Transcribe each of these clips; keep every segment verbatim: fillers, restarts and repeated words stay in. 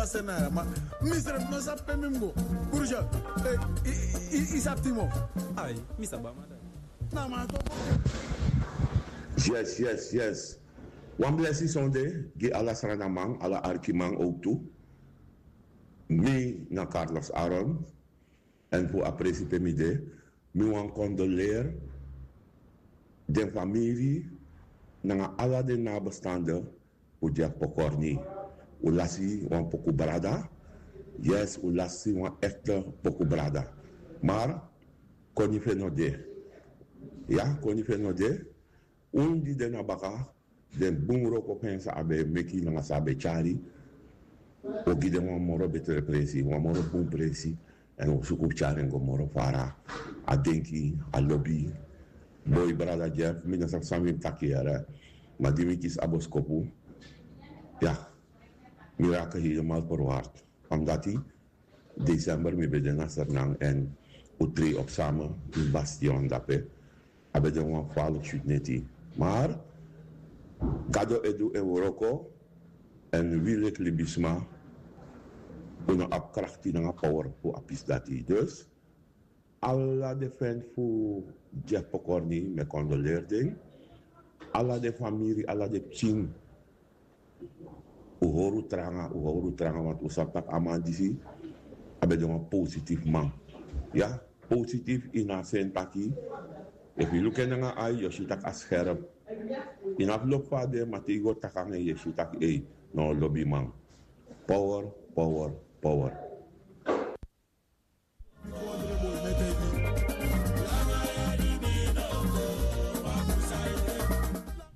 Pase na ya ma, mi srefi no sabi pe mi mus go. Urgent. Eh, i- i- i- i sabi timo. Ai, mi sabi a man dati. Na man to. Yes, yes, yes. Wan blesi sonde gi ala sranaman, ala arkiman ook tu. Mi na Carlos Aaron. En fu a presi pe mi de, mi wan kondoleer den famiri nanga ala den nabestande fu Jeff Pokorni. Un lasi wan poku brada. Yes, un lasi wan ekte poku brada. Maar koni fu en no de. Ya, koni fu en no de. Un di de na baka, den bun wroko fu en san a ben e meki nanga san a ben e tyari, un o gi den wan moro betre presi, wan moro bun presi. En un o suku fu tyari en go moro fara. A denki, a lobi. Boi, brada Jeff, mi no sabi san mi mus taki yere. Ma di mi kisi a boskopu, ya, mi raak helemaal verward. Omdat december mi ben de na Sranan en un treed op samen in bastion dape. A ben de wan gevaarlijk shoot neti. Maar Gado e du en wroko. En wi leki libisma, un no abi krakti nanga power fu a pisi dati. Dus ala den friend fu Jeff Pokorni, mi e kondoleer den. Ala den famiri, ala den pikin. Un hori un tranga, un hori un tranga, want un sabi taki a man disi a ben de wan positief man. Ya, positief ini a sen taki, efu yu luku en nanga ai, yu o si taki a scherp. Ini a verloop fu a de, ma te yu go taki nanga en, yu e si taki ei, na wan lobiman. Power, power, power.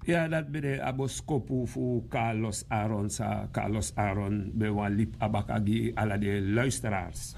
Ya, dati ben de a boskopu fu Carlos Aaron, san Carlos Aaron ben wani libi abaka gi ala den luisteraars.